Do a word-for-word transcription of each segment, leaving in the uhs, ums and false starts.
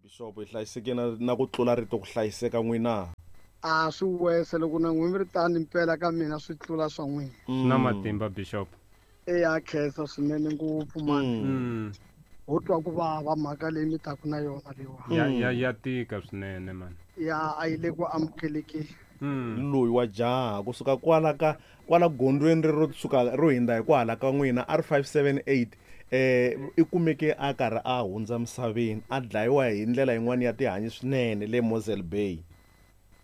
Bishop hi hlayiseke na na ku tlula rito ku hlayiseka n'wina. A swi wese loko na n'wina mi ri tani mpela ka mina swi tlula swa n'wina. Swi na matimba Bishop. Eya khensa swinene ngopfu mani. Mm. Ho twa ku vava mhaka leyi mi taku na yona leyiwa. Ya ya ya tika swinene mani. Ya a yi le ku amukelekeni. Mm. Loyi wa jaha kusuka kwala ka kwala gondzweni ro suka ro hindza hi kwahala ka n'wina R five seven eight eh i kumeke a karhi a hundza misaveni a dlayiwa hi ndlela yin'wana ya tihanyi swinene le Mosel Bay.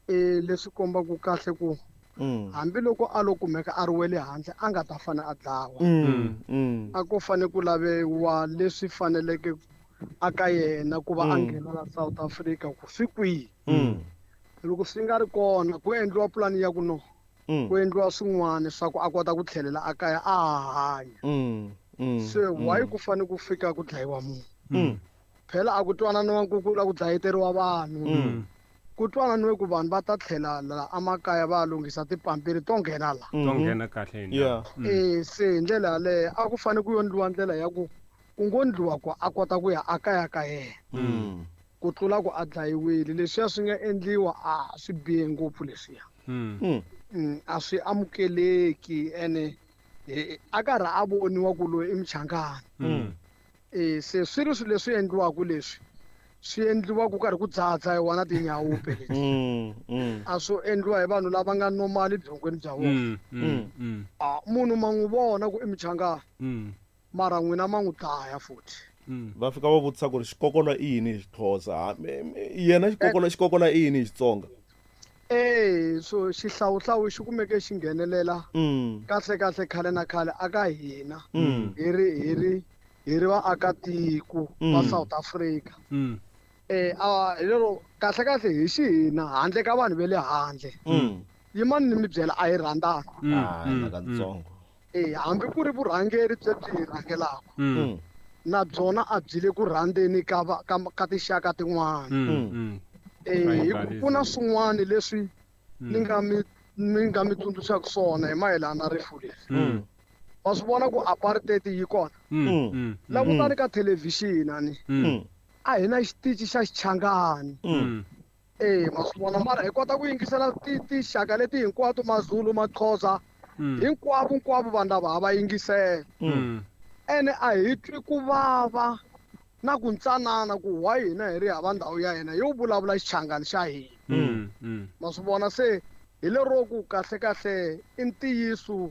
Eh leswi kombaka kahle ku Mm. hambiloko a lo kumeka a ri wele handle a nga ta fane a dlawa. Mm. Mm. A ku fane ku laviwa leswi faneleke a ka yena ku va a Mm. nghena la South Africa ku swi kwihi. Mm. Loko swi nga ri kona ku endliwa pulani ya ku no Mm. ku endliwa swin'wana swa ku a kota ku tlhelela a kaya a ha hanya. Mm. Mm. Se why ku fane ku fika ku dlayiwa munhu? Mm. Phela a ku twananiwa ku ku la ku dlayeteriwa vanhu. Mm. Ku twananiwe ku vanhu va ta tlhela la emakaya va lunghisa tipampiri to nghena la. To nghena kahle hi Yeah. Eh se hi ndlela yaleyo a ku fane ku endliwa ndlela ya ku ku ngo ndliwa ku a kota ku ya akaya ka yena. Mm. Ku tlula ku a dlayiwile leswiya swi nga endliwa a swi bihe ngopfu leswiya. Mm. Mm. Mm, a swi amukeleki ene a karhi a voniwa ku loyi i muchangani. Mm. Eh se swi ri swilo leswi endliwaka leswi swi endliwa ku karhi ku dzadza hi wona tinyawupe leti. Mm. Mm. A swo endliwa hi vanhu lava nga normal byongweni bya vona. Mm. Mm. Mm. A munhu ma n'wi vona ku i muchangani. Mm. Mara n'wina ma n'wi dlaya futhi. Mm. Va fika va vutisa ku ri xikokolo i yini hi Xixhosa? Yena xikokolo xikokolo i yini hi Xitsonga? Eh so xihlawuhlawu xi kumeke xi nghenelela Mm. kahle kahle khale na khale aka hina. Mm. Hi ri hi ri hi ri vaakatiko va Mm. South Africa. Mm. Eh a hi lero kahle kahle hi xihina handle ka vanhu ve le handle. Mm. Yimani ni mi byela a hi rhandzana. Mm. Ah, Mm. nakatsongo. Eh hambi ku ri vurhangeri byi byi hi rhangelaka. Mm. Na byona a byi le ku rhandzeni ka va ka ka tinxaka tin'wana. Mm. Mm. Eh hi ku ku na Tribalism. swin'wana leswi ni nga mi ni nga mi tsundzuxaka swona hi mayelana na rifu leri. Mm. Wa swi vona ku apartheid yi kona. Mm. Mm. Langutani ka thelevhixini ani. Mm. A hi na xitichi xa Xichangani. Mm. Eh ma swi vona mara hi kota ku yingisela ti tinxaka leti hinkwato Mazulu, Maxhosa Mm. hinkwavo hinkwavo vanhu lava ha va yingisela. Mm. Ene a hi twi ku vava na ku ntsanana ku why hina hi ri hava ndhawu ya hina yo vulavula Xichangani xa hina. Mm. Mm. Ma swi vona se hi lero ku kahle kahle i ntiyiso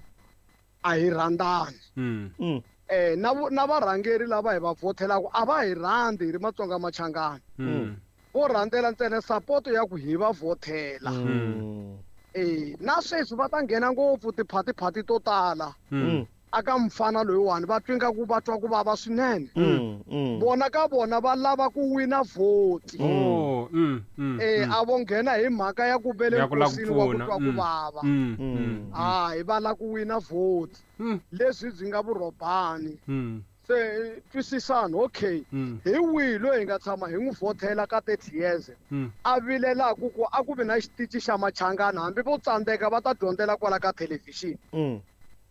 a hi rhandzani. Mm. Mm. Eh na na varhangeri lava hi va vhothelaka a va hi rhandzi hi ri Matsonga Machangani. Mm. Vo rhandzela ntsena support ya ku hi va vhothela. Mm. Eh na sweswi va ta nghena ngopfu tiphatiphati to tala. Mm. Aka mfana loyiwani va twi nga ku va twa ku vava swinene. Mm. Mm. Vona ka vona va lava ku wina vhoti. Oh, mm, mm. Eh a vo nghena hi mhaka ya ku vele Ya ku lava ku nkosini wa ku pfuna. twa ku Mm. vava. Mm. Mm. Mm. Hayi va lava ku wina vhoti. Mm. Leswi byi nga vurhobani. Mm. Se twisisani okay. Mm. Hi wihi loyi hi nga tshama hi n'wi vhothela ka thirty years. Mm. A vilelaka ku a ku vi na xitichi xa Machangani hambi vo tsandzeka va ta dyondzela kwala ka thelevhixini. Mm.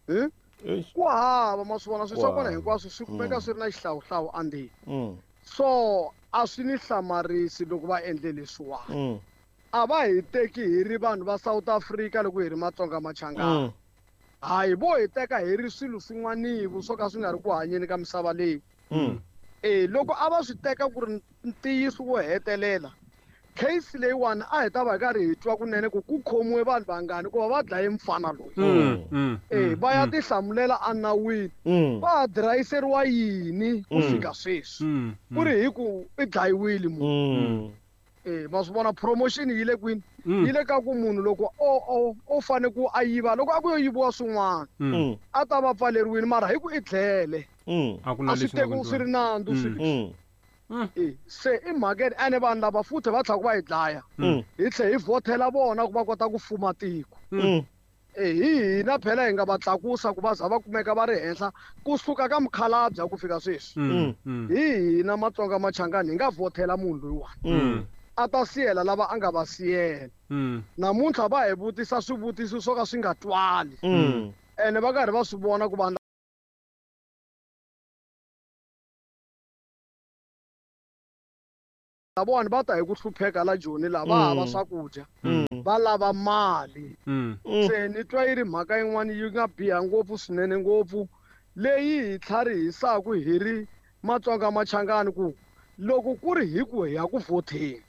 Hmm? Eish. Ku hava ma swi vona swilo swa kona Ku hava. hinkwaswo swi kumeka swi ri na xihlawuhlawu endzeni. Mm. So a swi ni hlamarisi loko va endle leswiwani. Mm. A va hi teki hi ri vanhu va South Africa loko hi ri Matsonga Machangani. Mm. Hayi vo hi teka hi ri swilo swin'wanivo swo ka swi nga ri ku hanyeni ka misava leyi. Mm. Eh loko a va swi teka ku ri ntiyiso wo hetelela case leyiwani a hi ta va hi karhi hi twa kunene ku ku khomiwe vanhu vangani ku va va dlaye mfana loyi. Mm. Mm. Eh va ya tihlamulela enawini. Mm. Va ha dirayiseriwa yini ku fika sweswi? Mm. Ku ri hi ku i dlayiwile munhu. Mm. Eh ma swi vona promotion yi le kwini? Mm. Yi le ka ku munhu loko o o o fane ku a yiva loko a ku yo yiviwa swin'wana Mm. a ta va pfaleriwile mara hi ku i dlele. Mm. A ku na A swi leswi nga tekiwi swi ri endliwa. nandzu swilo leswi. Mm. Mm. Eh se i mhaka ene vanhu lava futhi va tlhela ku va hi dlaya. Mm. Hi tlhela hi vhothela vona ku va kota ku fuma tiko. Mm. Eh hi hina phela hi nga va tlakusa ku va za va kumeka va ri henhla kusuka ka mukhalabye ku fika sweswi. Mm. Mm. Hi hina Matsonga Machangani hi nga vhothela munhu loyiwani. Mm. A ta siyela lava a nga va siyela. Mm. Namuntlha va hi vutisa swivutiso swo ka swi nga twali. Mm. Ene va karhi va swi vona ku vanhu lavawani va ta hi ku hlupheka la Joni la va hava swakudya va lava mali. Se ni twa yi ri mhaka yin'wana yi nga biha ngopfu swinene ngopfu leyi hi tlharihisaka hi ri Matsonga Machangani ku loko ku ri hi ku hi ya ku vhoteni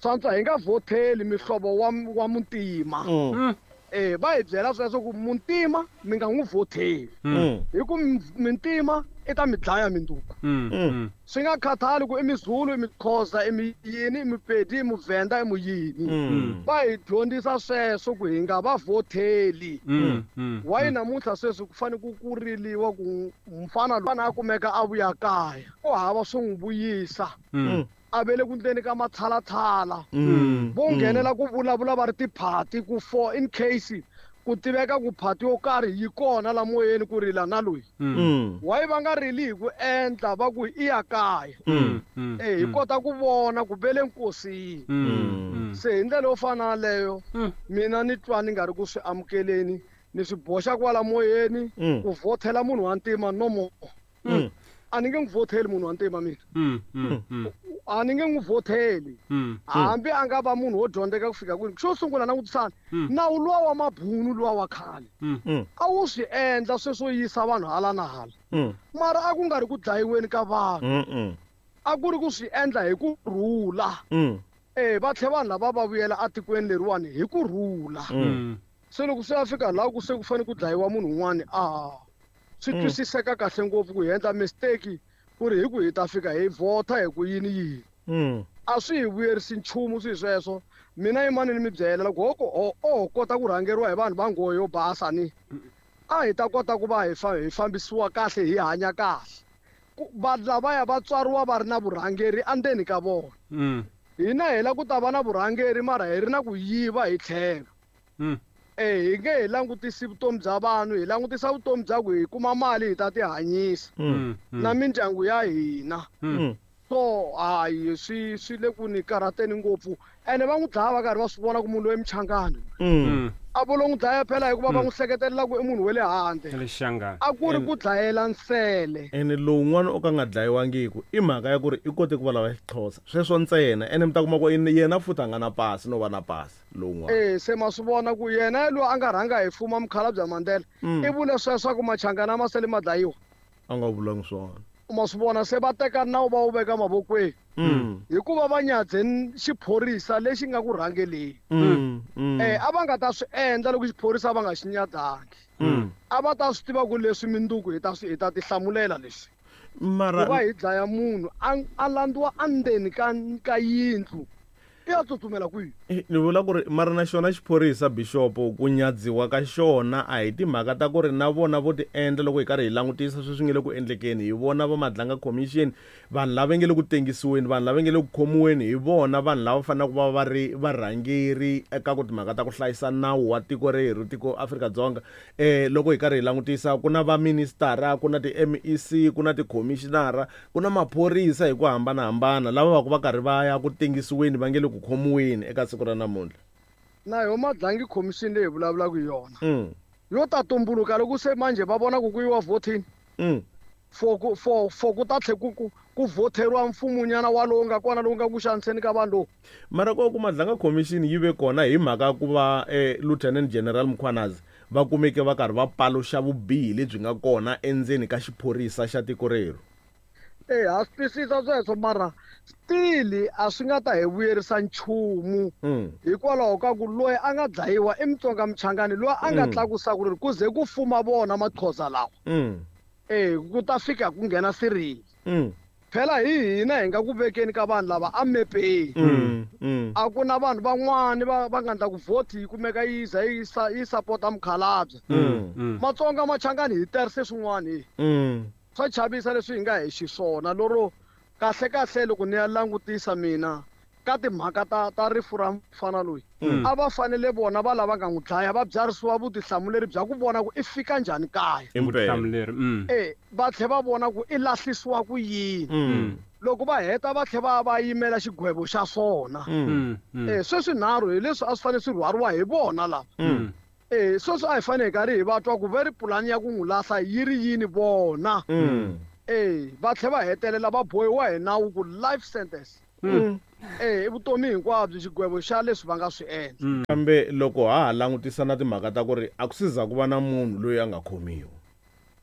swantswa hi nga vhoteli mihlovo wa wa muntima. Eh va hi byela sweswo ku muntima mi nga n'wi vhoteli hi ku mintima i ta mi dlaya minduku. Swi nga khathali ku i Mizulu, i Mixhosa, i miyini, i Mupedi, i Muvhenda, i muyini. Va hi dyondzisa sweswo ku hi nga va vhoteli. Why namuntlha sweswi ku fanele ku ku riliwa ku mfana loyi a kumeka a vuya kaya ku hava swo n'wi vuyisa. A ve le ku ndleni ka matshalatshala vo nghenela ku vulavula va ri tiphati ku for in case ku tiveka ku phati yo karhi yi kona la moyeni ku rila na loyi. Why va nga rili hi ku endla va ku i ya kaya. Eh hi kota ku vona ku ve le nkosini. Se hi ndlela yo fana na leyo mina ni twa ni nga ri ku swi amukeleni ni swi boxa kwala moyeni ku vhotela munhu wa ntima no more. A ni nge n'wi vhoteli munhu wa ntima mina. A ni nge n'wi vhoteli hambi a nga va munhu wo dyondzeka ku fika kwini. Xo sungula langutisana nawu luwa wa mabunu luwa wa khale a wu swi endla sweswo yisa vanhu hala na hala mara a ku nga ri ku dlayiweni ka vanhu, a ku ri ku swi endla hi ku rhula. Eh va tlhe vanhu lava va vuyela etikweni leriwani hi ku rhula. Se loko swi ya fika laha ku se ku fanele ku dlayiwa munhu un'wana a swi twisiseka kahle ngopfu ku hi endla mistake ku ri hi ku hi ta fika hi vhota hi ku yini yini. A swi hi vuyerisi nchumu swi sweswo. Mina yimani ni mi byela loko ho o kota ku rhangeriwa hi vanhu va nghohe yo basa ni a hi ta kota ku va hi hi fambisiwa kahle hi hanya kahle. Vanhu lavaya va tswariwa va ri na vurhangeri endzeni ka vona. Hina hi la ku ta va na vurhangeri mara hi ri na ku yiva hi tlhelo. Eh hi nge hi langutisi vutomi bya vanhu, hi langutisa vutomi bya ku hi kuma mali hi ta tihanyisa na mindyangu ya hina. So hayi swi swi le ku ni karhateni ngopfu ene va n'wi dlaya va karhi va swi vona ku munhu loyi Mchangani. A vo lo n'wi dlaya phela hikuva va n'wi hleketelela ku i munhu wa le handle. A ku ri ku dlayela nsele. Ene lowun'wana o ka nga dlayiwangiku i mhaka ya ku ri i kote ku vulavula Xixhosa sweswo ntsena ene mi ta kuma ku yena futhi a nga na pasi no va na pasi lowun'wana. Eh se ma swi vona ku yena loyi a nga rhanga hi fuma mukhalabye Mandela i vule sweswo ku Machangani ma sele ma dlayiwa. A nga vulangi swona. Ma swi vona se va teka nawu va wu veka mavokweni hikuva va nyadze xiphorisa lexi nga ku rhangeleni. Eh a va nga ta swi endla loko xiphorisa va nga xi nyadangi. A va ta swi tiva ku leswi minduku hi ta swi hi ta tihlamulela leswi. Mara va hi dlaya munhu a landziwa endzeni ka ka yindlu i ya tsutsumela kwihi? Ni vula ku ri mara na xona xiphorisa Bishop ku nyadziwa ka xona a hi timhaka ta ku ri na vona vo ti endla loko hi karhi hi langutisa sweswi nge le ku endlekeni hi vona va Madlanga Commission vanhu lava nge le ku tengisiweni vanhu lava nge le ku khomiweni hi vona vanhu lava faneleke ku va va ri varhangeri eka ku timhaka ta ku hlayisa nawu wa tiko rerhu tiko Afrika-Dzonga. Eh loko hi karhi hi langutisa ku na va ministara ku na ti-M E C ku na ti-commissionara ku na maphorisa hi ku hambanahambana lava va ku va karhi va ya ku tengisiweni va nge le ku khomiweni eka siku ra namuntlha. Na yo Madlanga Commission leyi hi vulavulaka hi yona yo ta tumbuluka loko se manje va vona ku ku yiwa voting for ku for for ku ta tlhe ku ku ku voteriwa mfumunyana walowu nga kona lowu nga ku xaniseni ka vanhu lowu. Mara ko ku Madlanga Commission yi ve kona hi mhaka ku va eh, Lieutenant General Mkhwanazi va kumeke va karhi va paluxa vubihi lebyi nga kona endzeni ka xiphorisa xa tiko rerhu. Eh ha swi twisisa sweswo mara still a swi nga ta hi vuyerisa nchumu hikwalaho ka ku loyi a nga dlayiwa i Mutsonga Mchangani loyi a nga tlakusa ku ri ku ze ku fuma vona Maxhosa lawa. Eh ku ta fika ku nghena Cyril. Phela hi hina hi nga ku vekeni ka vanhu lava a mepeni. A ku na vanhu van'wani va va nga ndla ku vote yi kumeka yi za yi yi sapota mukhalabye. Matsonga Machangani hi terise swin'wana hi. Swa chavisa leswi hi nga hi xiswona loro kahle kahle loko ni ya langutisa mina ka timhaka ta ta rifu ra mfana loyi a va fanele vona va lava nga n'wi dlaya va byarisiwa vutihlamuleri bya ku vona ku i fika njhani kaya. Vutihlamuleri eh va tlhe va vona ku i lahlisiwa ku yini. Loko va heta va tlhe va va yimela xigwevo xa swona. Eh sweswi nharhu hi leswi a swi fanele swi rhwariwa hi vona lava. Eh sweswi a hi fanele hi karhi hi va twa ku ve ri pulani ya ku n'wi lahla yi ri yini vona. Eh va tlhe va hetelela va bohiwa hi nawu ku life sentence. Eh i vutomi hinkwabyo xigwevo xa leswi va nga swi endla. Kambe loko ha ha langutisa na timhaka ta ku ri a ku si za ku va na munhu loyi a nga khomiwa.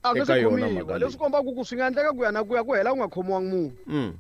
A nga Eka se yona khomiwa mhaka leswi leyi. kombaka ku swi nga endleka ku ya na ku ya ku hela ku nga khomiwangi munhu. Mm.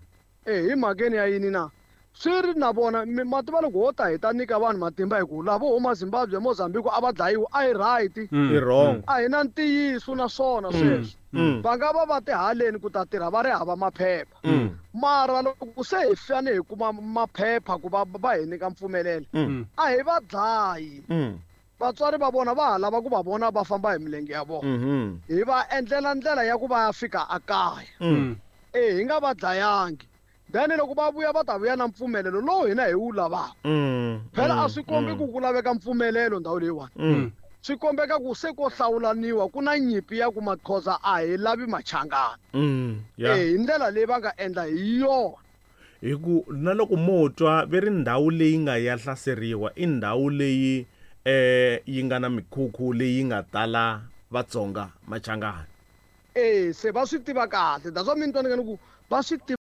Eh hi mhakeni ya yini na swi ri na vona mi- ma tiva loko ho ta hi ta nyika vanhu matimba hi ku lavo huma Zimbabwe Mozambique a va dlayiwi a hi right I wrong. a hi na ntiyiso na swona sweswo Mm. va nga va va ti haleni ku ta tirha va ri hava maphepha Mm. mara loko se hi fane hi kuma maphepha ku va va hi nyika mpfumelelo Mm. a hi va dlayi Mm. vatswari va vona va ha lava ku va vona va famba hi milenge ya vona Mhm. hi va endlela ndlela ya ku va ya fika ekaya Mm. e hi nga va dlayangi then loko va vuya va ta vuya na mpfumelelo lowu hina hi wu lavaka Mm. phela a swi kombi ku ku laveka mpfumelelo ndhawu leyiwani Mm. swi kombeka ku se ko hlawulaniwa ku na nyimpi ya ku Maxhosa a hi lavi Machangana Mm. Yeah. e hi ndlela leyi va nga endla hi yona Hi ku na loko mo twa ve ri ndhawu leyi nga ya hlaseriwa i ndhawu leyi eh yi nga na mikhukhu leyi nga tala Vatsonga Machangana. e se va swi tiva kahle that's why mi ni twa ni nga ni ku va swi tiva